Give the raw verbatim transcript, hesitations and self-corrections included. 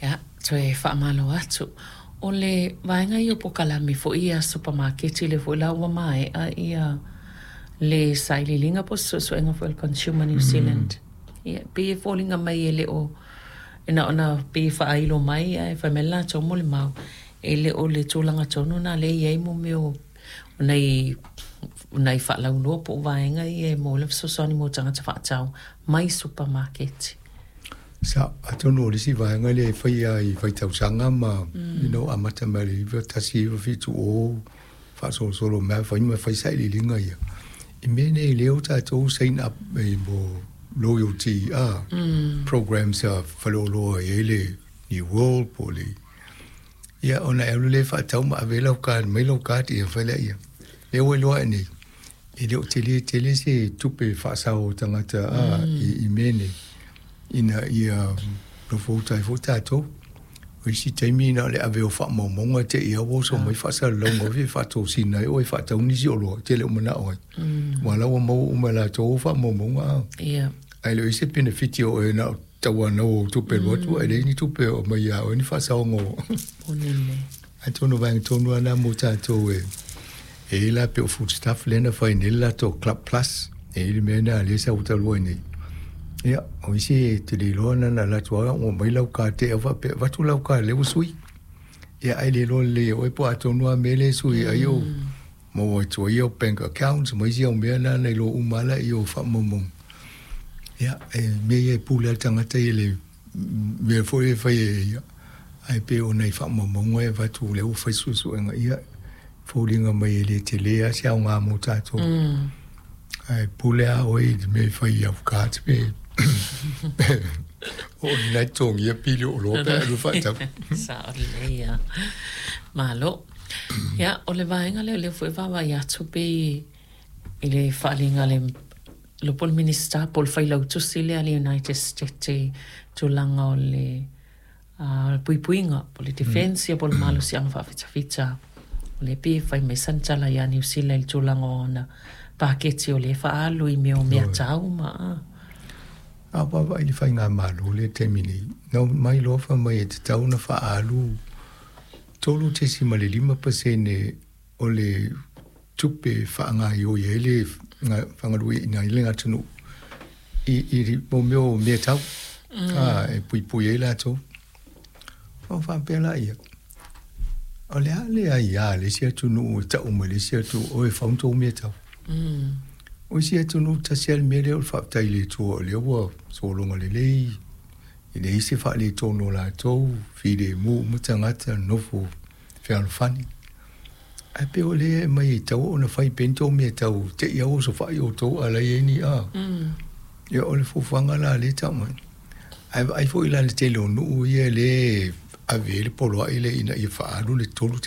Ia, toe faamalo atu. O le vaega ia o polokalame foi ia a supamaketi, lea foi la ua maea ia le sailiiliga po o se suesuega foi a le Consumer New Zealand. Ia, e pei e foliga mai e le o na ona pei e faailo mai ae fai mai le latou molimau, e le o le tulaga tonu lena lea e i ai mo mea o nai nai faalauiloa po o vaega ia e maua ai le fesoasoani mo tagata faatau mai supamaketi. Sa atonu o le isi vaega lea e faia i faitausaga ma you know amata mai le iva tasi iva fitu o faasolosolo mai fai ma fai sailiiliga ia i mea nei lea ua tatou sign up e mo loyalty ah programs a faleoloa e i ai le New World po o le ia ona e alu lea faatau ma ave ai lau card mai lau card ia fai lea ia lea ua iloa ane nei e le o tele tele se tupe faasao o tagata a i, i mea nei ina ia nofo uta ai foi tatou. O isi taimi na o le ave o faamaumauga te i ua oso mai faasalalauga foi e faatosina ai oe e faatau nisi oloa e te le o manao ai. Ua la ua maua uma e latou o faamaumauga a. Ia. Ae le o i se penefiti o oe na o tauanau o tupe alu atu ae leai ni tupe o aumai ia oe ni faasaoga o. Ponele. Atonu o vaega tonu lava na mo tatou e e i ai la pei o Foodstuff lea na fai nei le latou Club Plus e i ai le mea lena lea e sau talu ai nei. Ia, o isi e te le iloa na ona alu atu lava ua aumai lau card te i faapea avatu lau card lea ua sui. Ia ae le iloa lelei e oe po o atonu lava mea lea e sui ai o maua atu ai au bank accounts ma isi au mea na na iloa uma lava laia o faamaumauga. Ia, e mea ia e pule lava le tagata i le mea foi e fai e ia, ae pei o nai faamaumauga e avatu lea ua fai suesuega ia foliga mai e le tele lava se aoga mo tatou. Ae pule lava oe i le mea e fai i au cards pe o i na e totogia pili o oloa pe a e alu e faatau. Sao lelei lava. Malo. Ia, o le vaega lea o lea foi e vaavaai atu pei i le faaaliga a le iloa po o le Minisita po o le Failautusi lea a le United States i tulaga o le puipuiga po o le defence ia po o le malosiaga faafitafita. O lea e pei e fai mai sana tala ia Niu Sila i le tulaga o ana paketi o lea e faaalu i mea o meatau ma a. A vaavaai i le faigamalo lea i le taimi nei, na omai loa fai mai e tatau ona faaalu tolu tesima le lima pasene o le tupe e faagaoioi ai le faagalueaiina ai le atunuu i, i mo mea o meatau a, e puipui ai latou. Ona faapea laia, o le a le aia a le isi atunuu e tau mai le isi atunuu, oi e fau ni tou meatau. O isi atunuu tasi lava le mea lea o le faafetai i le Atua o lea ua sologa lelei, e leai se faaletonu o latou, filemu uma tagata, nofo fealofani. Ae pei o lea e aumai e tatau ona fai pea ni tou meatau te i lava ua osofai outou a o la e i ai ni a. Ia o le fuafuaga la lea e tau mai. Ae vaai foi la i le tele o nuu ia lea e ave i ai le poloai lea ina ia faaalu le tolu